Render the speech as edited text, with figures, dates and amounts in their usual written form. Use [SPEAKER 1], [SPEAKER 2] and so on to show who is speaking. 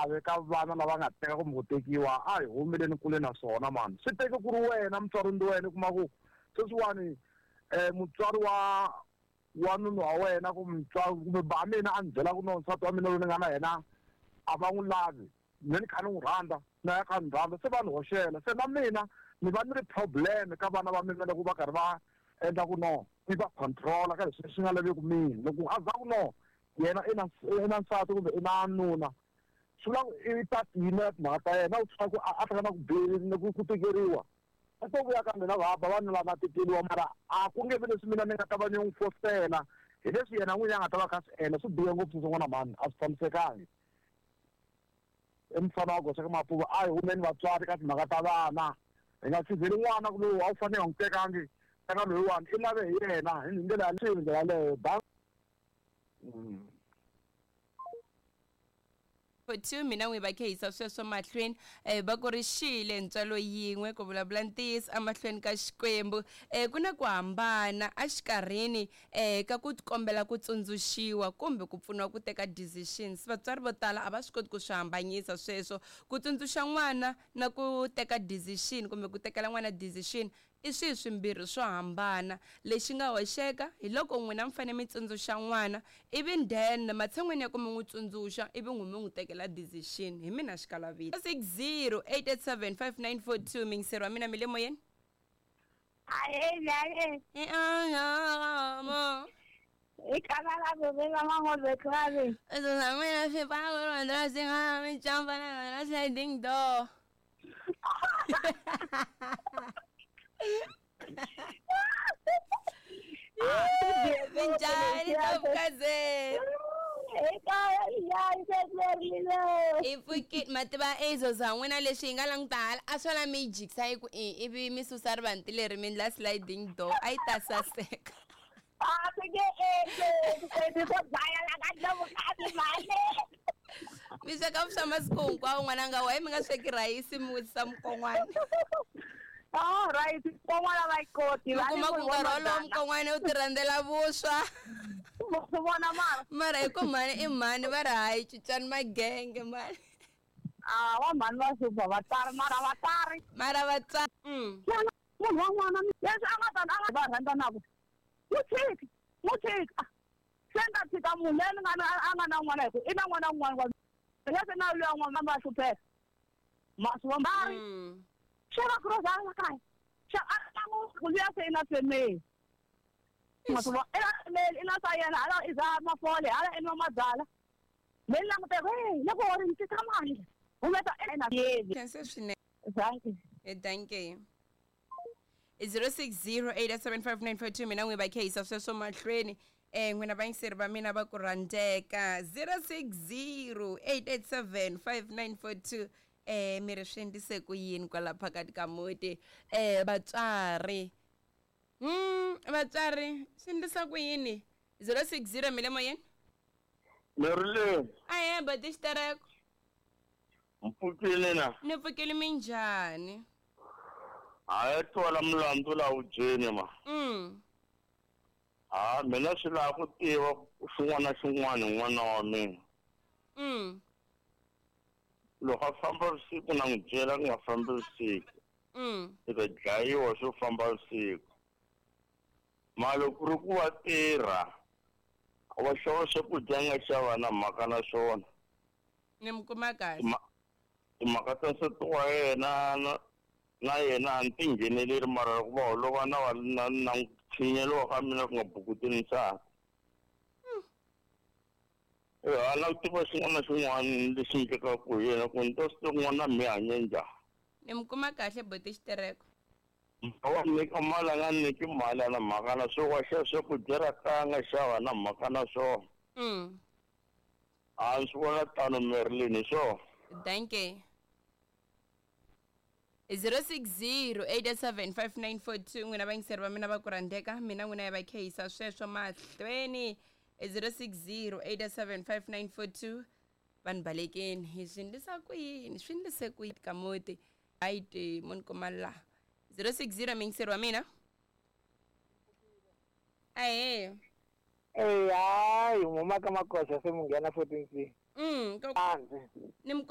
[SPEAKER 1] xiave ka vana lava nga teka kumbe ku tekiwa a hi humeleni kule na swona mani swi teke ku ri wena mutswari ndi wena u kuma ku sweswiwani mutswari wa nuna wa wena kumbe mutswari kumbe ba mina a ni byela ku no nsati wa mina loyi ni nga na yena a va n'wi lavi me ni kha ni n'wi rhandza na ya kha ni rhandza se va ni hoxela se na mina ni va ni ri problem ka vana va mina loko va karhi va endla ku no i va controla ka leswi swi nga laveki mina loko a za ku no yena i na nsati kumbe i na nuna swi vula ku i ta tiyimela timhaka ta yena u tlhela ku a hlangana ku na ku tikeriwa a to vuya ka mina va ba vanhu lava tikeriwa mara a ku nge vi leswi mina ni nga ta va ni n'wi fositela hi leswi yena n'winyi a nga ta va kha swi endla swi bihe ngopfu swin'wana mhani a swi tshamisekangi i mufana wa goxa ka mapuva a hi humeni vatswari ka timhaka ta vana hi nga tshizeli n'wana ku lowu a wu fanele nga n'wi tekangi teka loyiwani i lave hi yena hi ndlela yaleyo ndlela yaleyo ba
[SPEAKER 2] 2 mina n'wi va khehisa sweswo mahlweni va ku ri xile ntswalo yin'we ku vulavula ntiyiso emahlweni ka Xikwembu ku na ku hambana exikarhini ka ku kombela ku tsundzuxiwa kumbe ku pfuniwa ku teka decisions vatswari vo tala a va swi koti ku swi hambanyisa sweswo ku tsundzuxa n'wana na ku teka decision kumbe ku tekela n'wana decision I swihi swimbirhi swo hambana? Lexi nga hoxeka, hi loko n'wina mi fanele mi tsundzuxa n'wana, ivi then matshan'weni ya ku mi n'wi tsundzuxa, ivi n'wi mi n'wi tekela decision. Hi mina xikalavita. 060 887 5942 Muyingiseri wa mina mi le moyeni? Sliding door. Minjhani Ntombukazeni? I pfukile ma tiva ezo za n'wina leswi hi nga languta hala a swo la mi yi jikisa yi ku i ivi mi susa rivanti leri mi ndla sliding door a yi ta saseka.
[SPEAKER 3] A swi nge endleki sweswi swo dlaya la ka Ndlovukazi mhani.
[SPEAKER 2] Mi sweka vuswa masiku hinkwawo n'wananga why mi nga sweki rhayisi mi wisisa mukon'wana?
[SPEAKER 3] Oh, rhayisi mukon'wana va yi koti.
[SPEAKER 2] Mi kuma ku nkarhi wolowo mukon'wana u ti rhandzela vuswa.
[SPEAKER 3] Swi vona mara.
[SPEAKER 2] Mara hi ku mhani i mhani va ri hayi cincani magenge mhani.
[SPEAKER 3] Ah, va mhani va hlupha vatswari mara vatswari.
[SPEAKER 2] Mara vatswari.
[SPEAKER 3] Munhu wa n'wana leswi a nga ta a nga va rhandzanaka n'wi tshiki n'wi tshiki ah se ni ta tshika munhu loyi ni nga na a nga na n'wana hi ku i na n'wana un'wana wa leswi na luya n'wana va hlupheka ma swi vona va ri xava grocery la kaya xa a languti ku luya se i na family ma swi vona i na family i na swa yena hala i dzaha mafole hala i nwa mabyalwa me ni langute ku hey loko wo ri ni tisa mali humesa i na yeni
[SPEAKER 2] Khense swinene.
[SPEAKER 3] Dankie.
[SPEAKER 2] Dankie. 0608755942 mina n'wi va khehisa sweswo mahlweni n'wina vayingiseri va mina va ku rhandzeka 0608875942 mi ri swi endlise ku yini kwala phakathi ka muti vatswari vatswari swi endlisa ku yini 060 mi le moyeni
[SPEAKER 4] Marilyn.
[SPEAKER 2] Ahee boti xitereko.
[SPEAKER 4] Mpfukile na?
[SPEAKER 2] Ni pfukile minjhani?
[SPEAKER 4] Hayi twala mulandzu la wu dyeni ma. Ha mina swi lava ku tiva xin'wana na xin'wana hi n'wana wa mina. Loko a famba vusiku na n'wi byela ku nga fambi vusiku. I ta dlayiwa swo famba vusiku. Mara loko ku ri ku wa tirha wa xava swakudya a nga xava na mhaka na swona.
[SPEAKER 2] Ni mi kuma kahle.
[SPEAKER 4] Timhaka ta nsati wa yena na na yena a ni ti ngheneleri mara loko va holova na va na na n'wi tshinya lowa ka mina ku nga bukuteli nsati. A na ku tiva xin'wana na xin'wana lexi endlekaka hi yena ku ni ta swi tiva ku n'wana mi hanye njhani.
[SPEAKER 2] Ni mi kuma kahle buti Xitereko.
[SPEAKER 4] Wa nyika mali a nga nyiki mali a na mhaka na swona wa xava swakudya ra kaya a nga xava na mhaka na swona. A ni swi vona tano Marilyn hi swona.
[SPEAKER 2] Dankie. 0608875942 n'wina vayingiseri va mina va ku rhandzeka mina n'wina ya va khehisa sweswo mahlweni 0608875942 vanhu balekeni hi swi ndlisa ku yini swi ndlise ku yini ka muti hayi ti mo ni kuma la 060 muyingiseri wa mina ahee
[SPEAKER 5] Eyi hayi huma ka makoxa se mu nghena 14 C.
[SPEAKER 2] Ko
[SPEAKER 5] Hansi.
[SPEAKER 2] Ni mi